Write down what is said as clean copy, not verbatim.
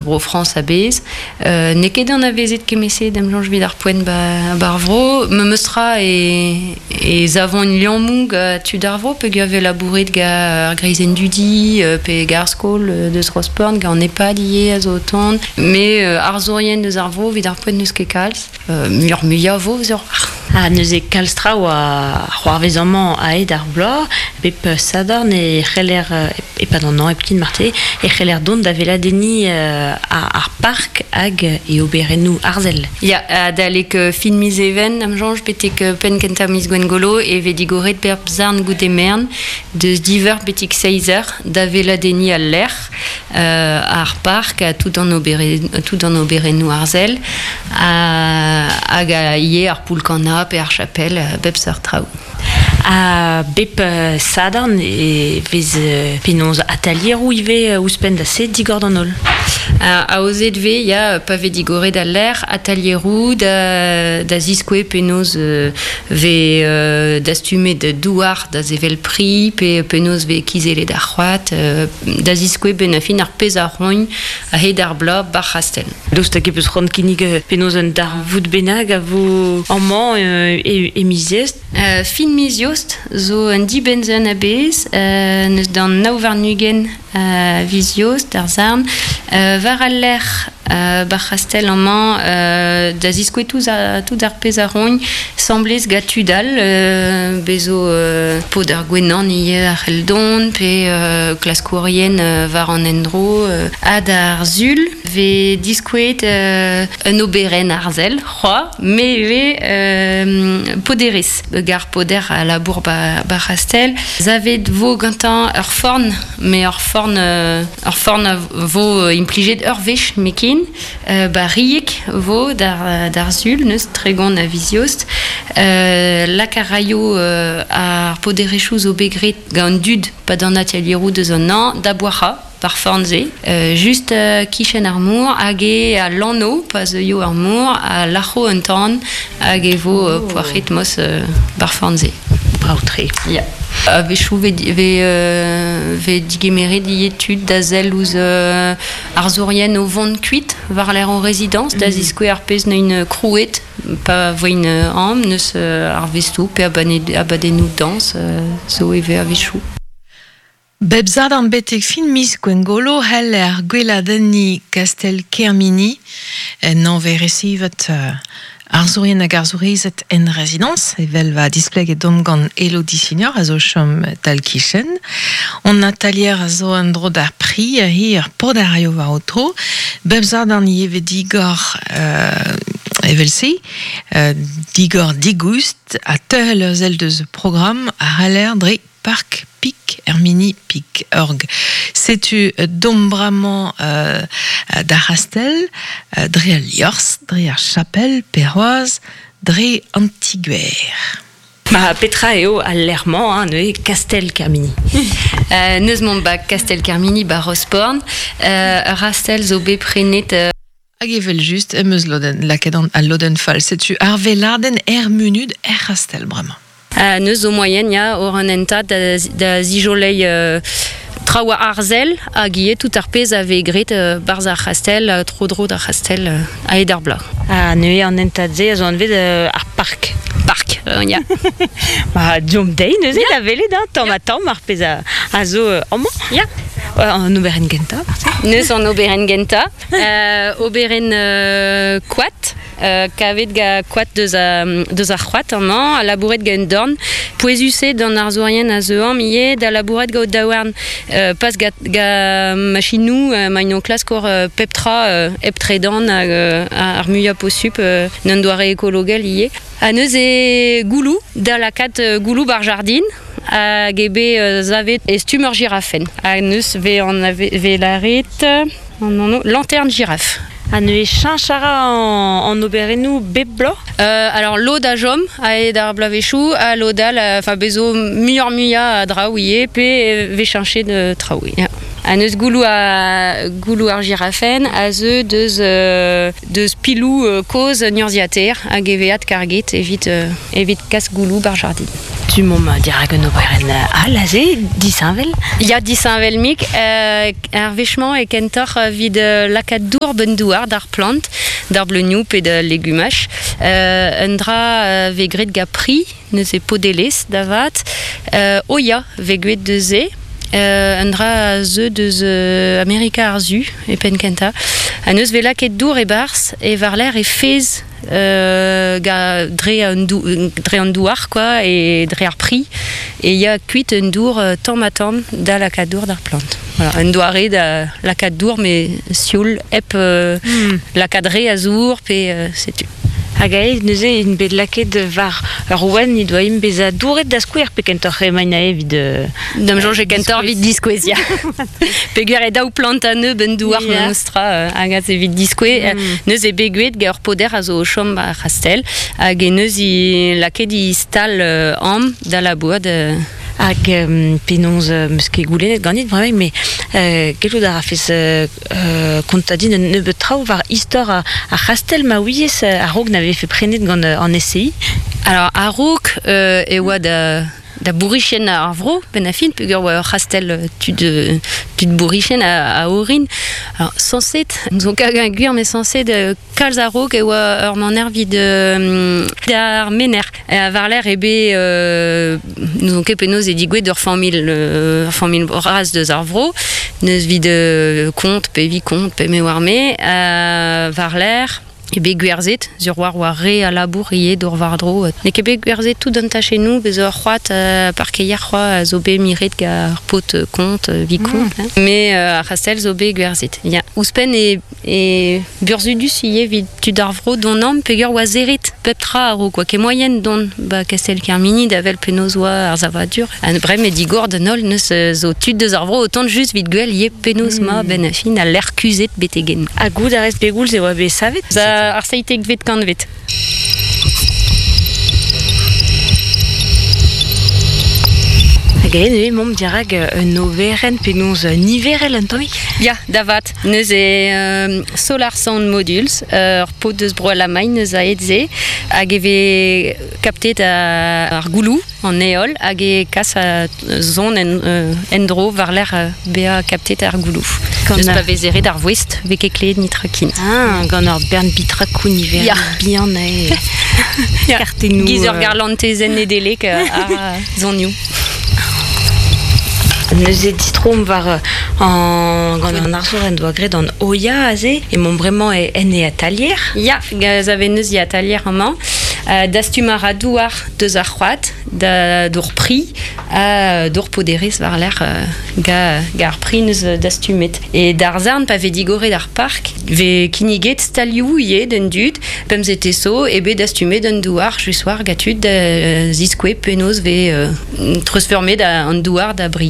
Bro-Frañs a-bezh. N'eo ket anavezet kement-se da'm soñj evit ar poent 'ba ar vro. Memes tra e e savont liammoù gant tud ar vro peogwir e vez labouret gant ar greizenn dudi pe gant ar skol deus Rosport, gant an EHPAD ivez a zo o tont. Met arzourien deus ar vro evit ar poent n'eus ket kalz. Muioc'h-muiañ a vo sur. Ha neuze kalz traoù a c'hoarvez amañ a-hed ar bloaz. Bep sadorn e c'heller, e-pad an hañv hepken marteze, e c'heller dont da weladenniñ ar park hag e oberennoù arzel. Ya, adalek fin miz Even, am soñj, betek penn kentañ miz Gwengolo e vez digoret bep zarn goude merenn deus div eur betek seizh eur da weladenniñ al lec'h. Ar park ha tout an tout an oberennoù arzel hag ivez ar poull-kannañ pe ar chapel, bep seurt traoù. Ha bep sadorn e vez penaos atalieroù ivez ouzhpenn da se digor d'an holl? Aozet 'vez, ya, pa vez digoret al lec'h, atalieroù da ziskouez penaos 'vez dastumet douar da sevel pri pe penaos 'vez kizellet ar c'hoad. Da ziskouez benn ar fin ar pezh a roint a-hed ar bloaz 'bar c'hastell. Daoust hag e peus c'hoant kinnig penaos un darvoud bennak a vo amañ e miz Eost? Fin miz Eost zo un dibenn-sizhun a-bezh, n'eus d'an 29 a viz Eost d'ar Sarn, war al lec'h 'bar c'hastell amañ da ziskouez tout ar pezh a roint 'semblez gant tud all bez zo paotr ar gwenan ivez a c'hell dont pe klaskourien war an endro ha d'ar Sul 'vez diskouezet un oberenn arzel c'hoazh me ivez poderez gar poder a labour 'bar c'hastell savet 'vo gantañ ur forn met ur forn Ur forn a vo implijet ur wech nemetken. Ba Rieg 'vo d'ar Sul, neus 30 a viz Eost. Lak a raio ar poderezhioù zo bet graet gant an dud 'pad an atelieroù deus an hañv da boazhañ ar forn-se. Just kichen ar mor hag eo al lanv pa zeuio ar mor a lac'ho un tan hag e vo poac'het mos 'bar forn-se. Brav-tre. Ya. A-wechoù 'vez digemeret ivez tud da sell ouzh arzourien o vont kuit war-lerc'h o rezidañs da ziskouez ar pezh 'neuint krouet pa voint amañ n'eus arvestoù pe abadennoù dañs zo ivez a-wechoù. Bep sadorn betek fin miz Gwengolo c'heller gweladenniñ kastell Kermini en anv resivet Arzourien hag arzourezed en rezidañs, evel va displeget domp gant Elodie Signor a zo chom tal-kichen. Hon atalier a zo en-dro d'ar pri hi ur paotr a raio war ho tro. Bep sadorn ivez digor evel-se, digor digoust ha teurel ur sell deus programm a c'haller dre Park Pik er mini Pik Org. Setu domp bremañ d'ar c'hastell, dre al liorzh, dre ar chapel pe c'hoazh dre an ti-gwer. Ma petra eo al lec'h-mañ, hein, neuze Kastell Kermini? Neus mont ba Kastell Kermini ba Rosporn. Ur c'hastell zo bet prenet Hag evel-just em eus lodenn, lakaet an, al lodenn fall. Setu ar weladenn er munud er c'hastell bremañ. Neus zo moaien ya oc'h an hentad da, da zijoleiñ traoù arzel hag ivez tout ar pezh a vez graet 'barzh ar c'hastell, tro-dro d'ar c'hastell a-hed ar bloaz. Ha neuze an hentad-se a zo anvet ar park. Park, ya. Ba, deomp dezhi neuze da welet hein, tamm ha tamm ar pezh a, a zo amañ. Ya. An oberenn gentañ, marteze. Neus an oberenn gentañ. Oberenn koad, kavet gant koad deus, deus ar c'hoad amañ, ha labouret gant un dorn. Pouezus eo d'an arzourien a zeu amañ ivez da labourat gant o daouarn, pas gant machinoù, ma int o klask ober pep tra hep tredan hag ar muiañ posupl, en un doare ekologel ivez. Ha neuze gouloù, da lakaat gouloù 'bar jardin, hag eo bet savet e stumm ur jirafenn. Ha neus 'vez vez lâret an anv lanterne girafe. Ha neuze cheñch a ra an oberennoù bep bloaz? Alors lod a chom a-hed ar bloavezhioù ha lod all enfin bez zo muioc'h-muiañ a draoù ivez pe 'vez cheñchet traoù ya. Ha neus gouloù a gouloù ar jirafenn a zeu deus deus piloù kozh un urzhiataer hag e vez adkarget evit evit kas gouloù 'bar jardin. Tu Setu mom dirak un oberenn all aze, disheñvel. Ya, disheñvel mik. Ar wech-mañ e kentoc'h evit lakaat dour ben douar d'ar plant, d'ar bleunioù pe da legumaj. Un dra vez graet gant pri, neuze podelez da vat. O ya, vez graet deus se. Un dra a zeu deus Amerika ar Su, e penn kentañ. Ha neus vez lakaet dour e-barzh, e war-lerc'h e fez dre an, dre an douar quoi, e dre ar pri e ya kuit un dour tamm ha tamm da lakaat dour d'ar plant. Voilà, un doare da lakaat dour met sioul hep lakaat re a zour pe setu. Hag aes neuze int bet lakaet war ur ouenn he doa int bezañ douret da skouer pe kentoc'h emaint aze evit D'am soñj e kentoc'h evit diskouez, ya. Peogwir e daou plant a-nebeut en douar memestra hag aze evit diskouez. Neuze bet gwelet gant ur poder a zo o chom ar c'hastell hag e neus i lakaet i stal am da labourat. Hag penaos 'meus ket goulennet ganit bremañ, mais gellout a rafes kontañ din un nebeud traoù war istor ar c'hastell ma ouiez a-raok na vefe prenet gant an SCI? Alors a-raok e oa da bourrichen ar vro, benn ar fin, peogwir oa ur c'hastell tud, tud bourrichen a orin. Alors, sañset, zo ket gwir, met sañset kalz a-raok e oa ur maner evit ar mener. War-lerc'h eo bet n'ouzon ket penaos eo digouezhet ur familh ur familh bras deus ar vro. Neus evit kont pe evit kont pe me oar-me. War-lerc'h eo bet gwerzhet, sur war war re a labour ivez d'ober war-dro. N'eo ket bet gwerzhet tout an tachennoù, bez ur c'hoad parkeier c'hoazh a zo bet miret gant ar paotr kont, vikont. Mais ar c'hastell zo bet gwerzhet. Ya. Ouzhpenn e E burzhudus ivez evit tud ar vro dont amañ peogwir oa serret pep tra a-raok oa ket moaien dont ba Kastell Kermini da wel penaos oa ar savadur. Ha bremañ digor d'an holl neus zo tud deus ar vro o tont just evit gwell ivez penaos 'ma benn ar fin al lec'h kuzhet betek-henn. Ha goût a rez pegoulz e oa bet savet? Ar seitekvet kantved. Hag aet eo emaomp dirak un oberenn penaos niverel un tammig? Ya, da vat. Neuze Solar Sound Modules, ur paotr deus Bro-Alamagn eus aet se, hag e vez kaptet ar gouloù, an heol, hag e kas son en-dro war-lerc'h bezañ kaptet ar gouloù. Gant pa vez eret ar voest, vez ket klevet nitra ken. Ah, gant ur bern bitrakoù niverel bihan eo. Kartennoù. Giz ur garlantezenn Nedeleg a zonioù. Neuze distroomp war an, gant an arzour en doa graet an Oya aze. Emaomp bremañ en e atalier. Ya, gaz a vez neuze atalier amañ. Dastum a ra douar deus ar c'hoad da d'our pri ha d'our poderez war-lerc'h ga, ga ar pri neus dastumet. E d'ar zarn pa vez digoret ar park, vez kinniget stalioù ivez d'an dud, pemzete so eo bet dastumet an douar just war ga tud da ziskouez penaos vez treuzfeurmet an douar da bri.